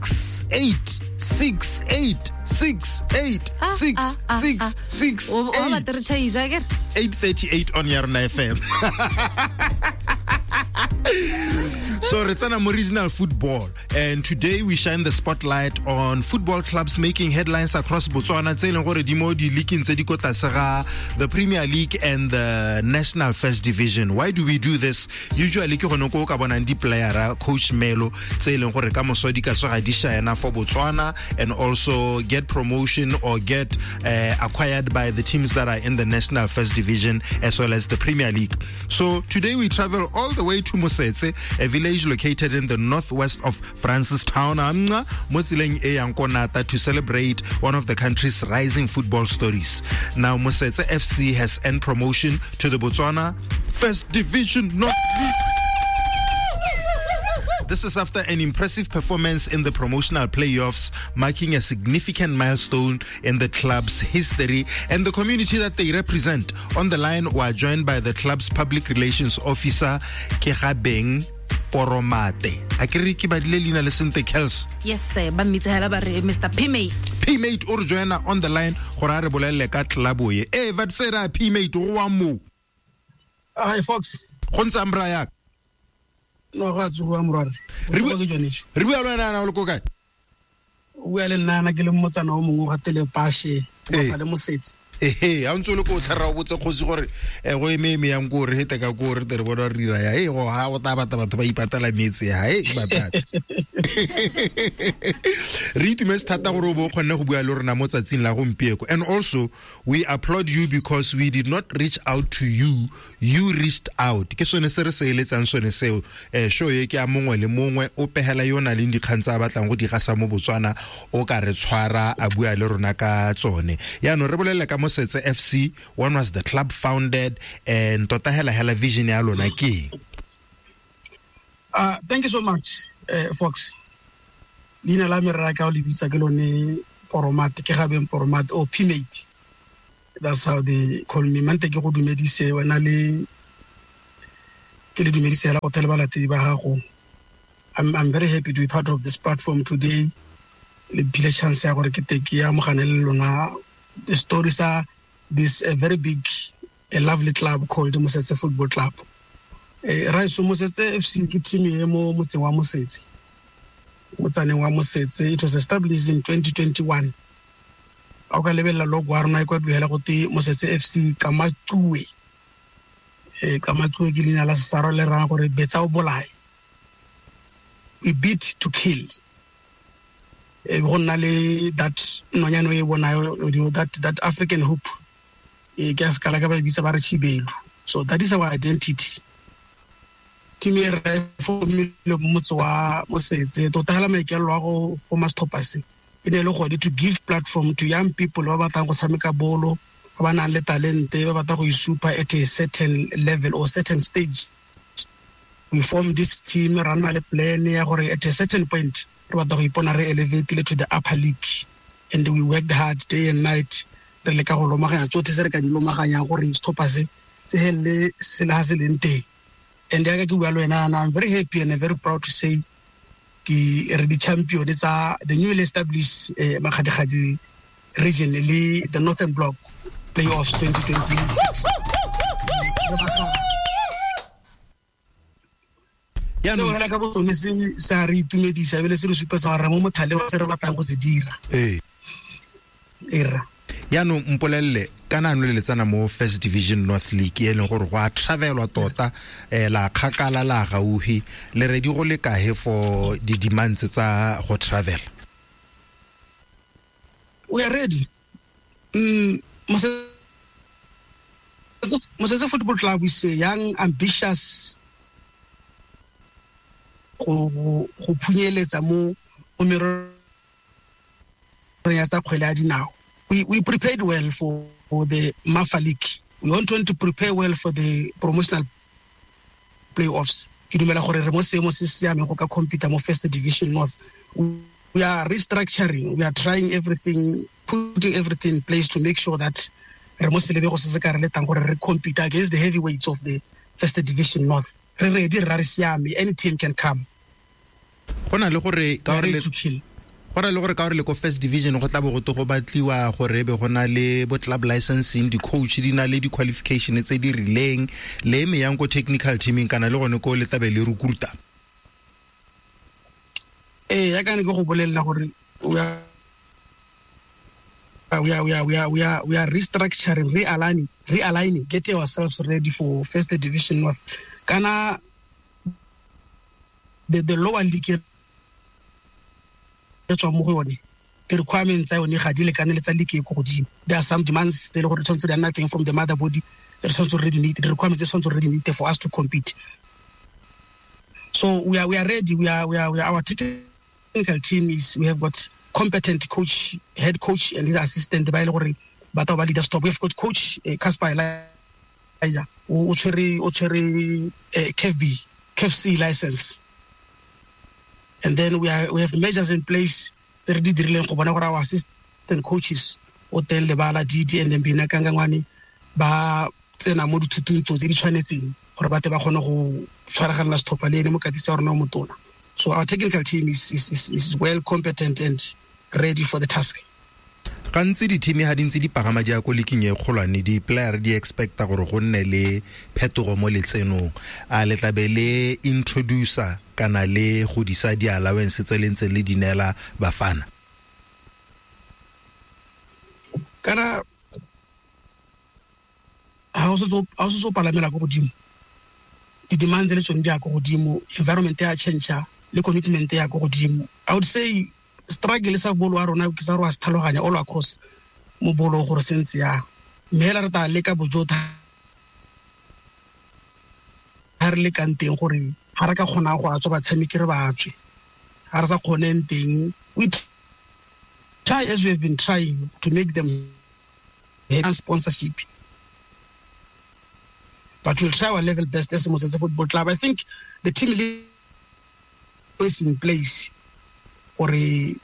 6 8 6 8 6 8 6 6 6 O batla re chaisa ke 8:38 on Yarona FM. So re tsena mo regional football, and today we shine the spotlight on football clubs making headlines across Botswana tse e leng gore di mo di-leagueng tse di ko tlase ga the Premier League and the National First Division. Why do we do this? Usually ke gone ko o ka bonang di-playera, Coach Melo, tse e leng gore ka moso di ka tsoga di shine for Botswana and also get promotion or get acquired by the teams that are in the National First Division as well as the Premier League. So today we travel all the way to Mosetse, a village located in the northwest of Francistown, mo tseleng e yang ko Nata, to celebrate one of the country's rising football stories. Now Mosetse FC has earned promotion to the Botswana First Division North League. This is after an impressive performance in the promotional playoffs, marking a significant milestone in the club's history and the community that they represent. On the line, we are joined by the club's public relations officer, Kegabeng Poromate. A ke re ke badile leina le sente, Kels? Yes sir, ba mmitsa hela ba re Mr Pmate. Pmate o re joina on the line gore a re bolelele ka club ye. Eh, va tsera Pmate go wa mo. Hi Fox. Go ntse ambra ya. No ga tsoga morware. Re bua le wena o le ko kae? O bua le nna ke le motsana o mongwe ga Telepashe, ba le Mosetse. Ehe, ha ntse o le ko tlhara o botse kgosi gore go eme eme yang ko re hete ka ko re tere bona re dira ya e go ha o tla batla batho ba ipatela metse ha e batla. Re itumetse thata gore o bo o kgonne go bua le rona mo tsatsing la gompieko. And also we applaud you because we did not reach out to you, you reached out. Ke sone se re se eletsang sone seo. Show e ke a mongwe le mongwe o pehela yo na leng dikgang tsa batlang go di gasa mo Botswana, o ka re tshwara a bua le rona ka tsone. Yaanong re bolele ka Mosetse FC, when was the club founded and tota hela hela vision ya lona ke? Thank you so much, Fox. Leina la me rra ka o le bitsa ke lone Poromate, ke Gabeng Poromate or Pmate. That's how they call me. Mante ke go dumedise wena le ke le dumedise hela go thele balatedi ba gago. I'm very happy to be part of this platform today. Le phile chance ya gore ke te ke amogane le lona the stories are this a very big, a lovely club called Mosetse Football Club. Raiso Mosetse FC ke team e mo motseng wa Mosetse. Motsaneng wa Mosetse. It was established in 2021. A o ka lebelela logo ya rona e kwa duela go te Mosetse FC Kamatue. Kamatue ke leina la Sesarwa le raya gore betsa o bolae. We beat to kill. Go nna le that nonyane o e bonayo, that African hoop. Ke a sekala ka ba e bitsa ba re Chibelu. So that is our identity. Team e re formile motse wa Mosetse. Tota hela maikaelelo a go forma setlhopha se e ne e le gone to give platform to young people ba batlang go tshameka bolo, ba ba nang le talente, ba batla go isupa at a certain level or certain stage. We form this team, ra nna le plan ya gore at a certain point re batla go ipona re elevatile to the upper league, and we worked hard day and night re leka go lomaganya tsotlhe se re ka di lomaganyang gore setlhopha se se helele se le ha se leng teng. And yaka ke bua le wena, I'm very happy and very proud to say ke re di champion tsa the newly established Makgadikgadi region le the Northern Block playoffs 2026. Seo hela ka bosone se sa re itumedisa ebile se re supetsa gore mo mothale wa se re batlang go se dira. Era. Yaanong mpolelele kana ano le letsana mo First Division North League e leng gore go a travelwa tota, la kgakala la gaufi, le ready go le kae for di demands tsa go travel? We are ready. Mosetse Football Club is a young, ambitious go phunyeletsa mo mererong ya tsa kgwele ya dinao. We prepared well for the Mafa League. We want to prepare well for the promotional playoffs. Ke dumela gore re mo seemo se se siameng go ka compete mo First Division North. We are restructuring. We are trying everything, putting everything in place to make sure that re mo selebego se se ka re letang gore re compete against the heavyweights of the First Division North. Re ready, re siame. Any team can come. Go na le gore ka gore go na le gore ka gore le ko first division go tla bo go to go batliwa gore e be go na le bo club licensing, di-coach di na le di-qualification tse di rileng, le eme yang ko technical teaming kana le gone ko le tabe le recruiter. Ee, ya ka ne ke go bolelela gore we are restructuring, realigning, getting ourselves ready for first division north. Kana the lower league re tswa mo go yone, di-requirements tsa yone ga di lekane le tsa league e ko godimo. There are some demands tse e le gore tshwanetse di nna teng from the mother body, tse re tshwanetse re di meet, di-requirements tse tshwanetse re di meet for us to compete. So we are ready. We are our technical team is, we have got competent coach, head coach and his assistant ba ile gore ba tla ba leader stop. We have got coach Casper Elijah o tshwere CAF B, CAF C license. And then we have measures in place tse re di dirileng go bona gore our assistant coaches o teng Lebala Didi and Mbina Kangangwane ba tsena mo dithutong tse di tshwanetseng gore ba tle ba kgone go tshwaraganela setlhopha le ene mokatisi wa rona o motona. So our technical team is well competent and ready for the task. Gantsi di-team ha di ntse di pagama di ya ko leaking e kgolwane, di-player di expecta gore go nne le phetogo mo letsenong. A le tlabe le introducer kana le godisa di-allowance tse le ntse le di neela bafana? Kana ha o setse o palamela ko godimo, di-demands le tsone di ya ko godimo, environment ya change le commitment ya ko godimo. I would say struggle sa bolo wa rona ke sa re wa se tlhaloganya all across mo bolo gore se ntse yang, mme hela re tla leka bojotha ha re lekang teng gore ha re ka kgona go atswa batshameki re ba tswe, ha re sa kgoneng teng we try as we have been trying to make them have sponsorship, but we'll try our level best as Mosetse Football Club. I think the team is in place gore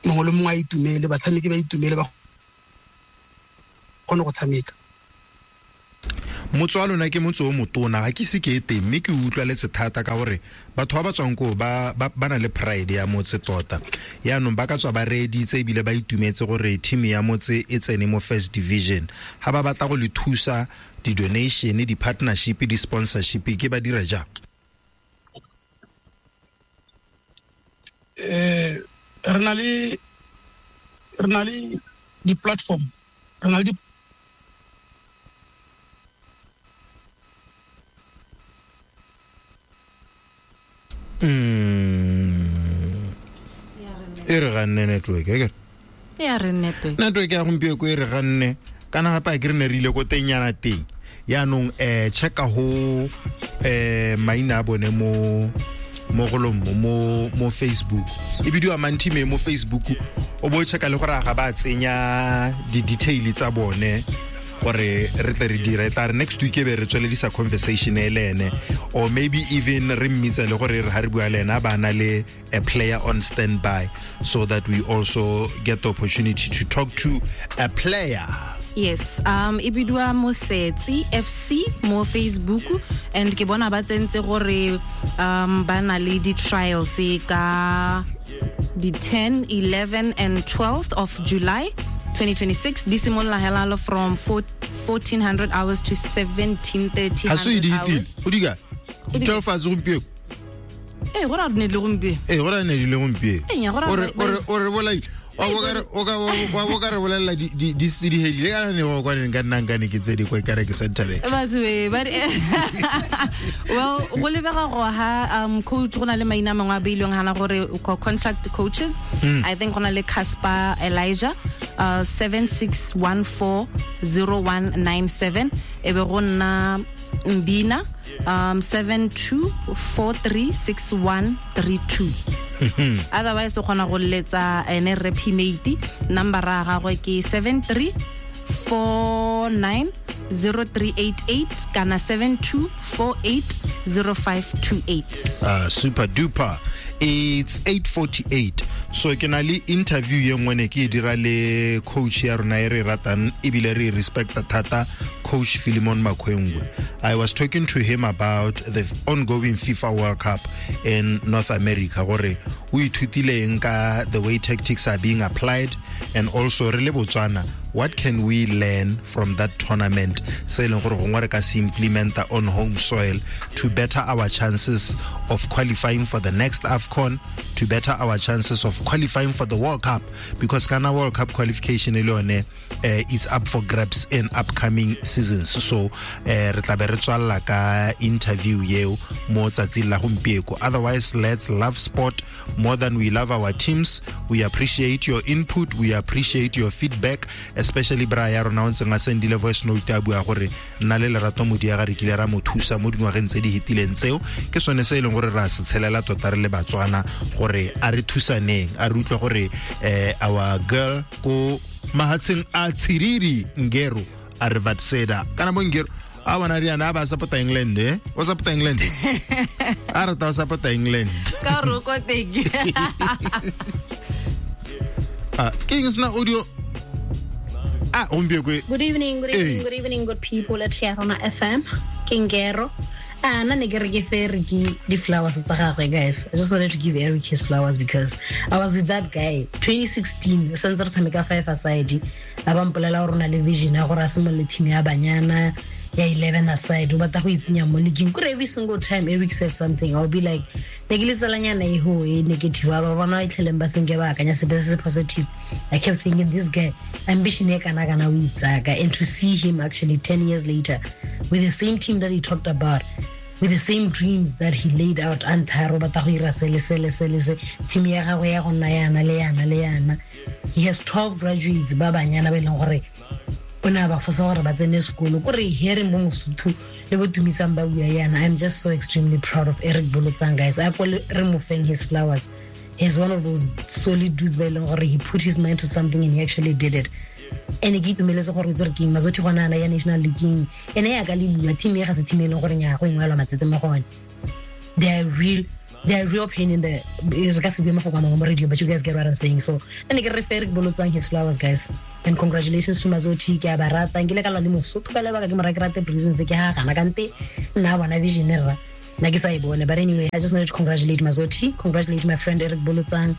mongwe le mongwe a itumele, batshameki ba itumele, ba kgone go tshameka. Motse wa lona ke motse o motona, ga ke se ke e teng mme ke utlwaletse thata ka gore batho ba ba tswang koo ba na le pride ya motse tota. Yaanong ba ka tswa ba reeditse ebile ba itumetse gore team ya motse e tsene mo first division. Ha ba batla go le thusa di-donation, di-partnership, di-sponsorship, ke ba dira jang? Re na le di-platform, re na le e re ganne network, e ya re network. Network ya gompieno e re ganne kana gape ke re ne re ile ko tengnyana teng. Yaanong checka ho maina a bone mo golong mo Facebook, e bidiwa Mantime mo Facebook, o bo checka le gore ga ba tsenya di-detail tsa bone gore re tle re dire tla re next week e be re tsweledisa conversation e le ene, or maybe even re mmitse le gore re ha re bua le ena ba na le a player on standby so that we also get the opportunity to talk to a player. Yes, e bidiwa Mosetsi FC mo Facebook, and ke bona ba tsentse gore ba na le di-trials ka di 10, 11 and 12th of July 2026. Di simolola hela from 1400 hours to 1730 hours. O diga 12 hours gompieno. Eh, go ra ne le gompieno. Eh, go ra ne le gompieno. O re bolai wa bo ka re bolela di di hedile ka ne go kwa nka nna nka ne ke tse di kwa kare ke center back. Batho ba well, go lebega go ha coach go na le maina mangwe a beilweng hana gore contact coaches. I think go na le Casper Elijah 76140197, e be go nna Mbina 72436132. Otherwise o kgona go letsa ene re Pmate, number ya gagwe ke 73490388 kana 72480528. Super duper. It's 8:48, so ke na le interview ye nngwe ne ke e dira le coach ya rona e re ratang ebile re respecta thata, Coach Philemon Makwengwe. I was talking to him about the ongoing FIFA World Cup in North America, gore o ithutile eng ka the way tactics are being applied, and also re le Botswana, what can we learn from that tournament se e leng gore gongwe re ka se implementa on home soil to better our chances of qualifying for the next AFCON, to better our chances of qualifying for the World Cup, because kana World Cup qualification e le yone is up for grabs in upcoming seasons. So re tla be re tswalla ka interview yeo mo tsatsing la gompieko. Otherwise, let's love sport more than we love our teams. We appreciate your input, we appreciate your feedback, especially bra ya rona o ntseng a sendile voice note a bua gore nna le Lerato Modiaga re kile ra mo thusa mo dingwageng tse di hetileng tseo. Ke sone se e leng gore ra se tshelela tota re le Batswana, gore a re thusaneng, a re utlwe gore our girl ko mahatsheng a Tshiriri Ngero a re vatseda kana bo Ngero a bona riana a ba support England, o support England, a rata o support England ka roko teng. Ah, ke eng sena audio ah gompieko? Good evening, good evening, good evening, good people at Yarona FM. Kingero. Ah, nna ne ke re ke fe Eric di-flowers tsa gagwe, guys. I just wanted to give Eric his flowers because I was with that guy 2016, santse re tshameka five aside. A ba mpolela gore o na le vision ya gore a simolole team ya banyana ya 11 aside, o batla go itsenya mo leagueng. Kore every single time Eric says something, I'll be like, ne ke le tsalanyana e ho e negative, ba bona e tlheleng ba senke ba akanya sepe se se positive. I kept thinking, this guy, ambition e kana kana o itsaka. And to see him actually 10 years later with the same team that he talked about, with the same dreams that he laid out, antha ro batla go ira sele sele sele se, team ya gagwe ya go nna yana le yana le yana. He has 12 graduates ba banyana ba e leng gore o ne a ba fosa gore ba tsene sekolo. Kore hearing bo Mosotho le bo Tumisang ba bua yana, I'm just so extremely proud of Eric Bolotsang, guys. A ko re mo feng his flowers. He's one of those solid dudes ba e leng gore he put his mind to something and he actually did it. And ke itumeletse gore itse gore ke eng Mazothi gona ana ya national league ene ya ka le bua team e ga se team e leng gore nya go ingwelwa matsetse mo gone. They are real pain in the, re ka se bue mafoko a mangwe mo radio, but you guys get what I'm saying. So ene ke re fe Eric Bolotsang his flowers, guys, and congratulations to Mazothi. Ke a ba rata, nkile ka lwa le Mosotho ka lebaka ke mo ra ke rate reasons ke ha gana kante nna bona vision rra nna ke sa e bone. But anyway, I just wanted to congratulate Mazothi, congratulate my friend Eric Bolotsang,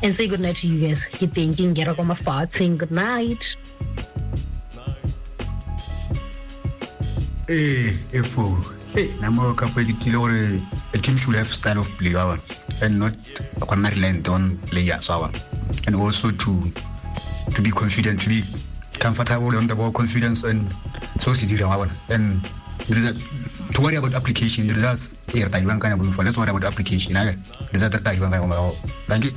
and say good night to you guys. Ke teng ke ngera kwa mafatsheng. Good night. Ee, efo hey na mo ka ke kile gore a team should have style of play wa bona, and not go nna reliant on players wa bona, and also to be confident, to be comfortable on the ball, confidence and so se dirang wa bona. And there is a, to worry about application, the results e re tla di bankanya. Let's worry about application, ake results re tla di bankanya. Thank you.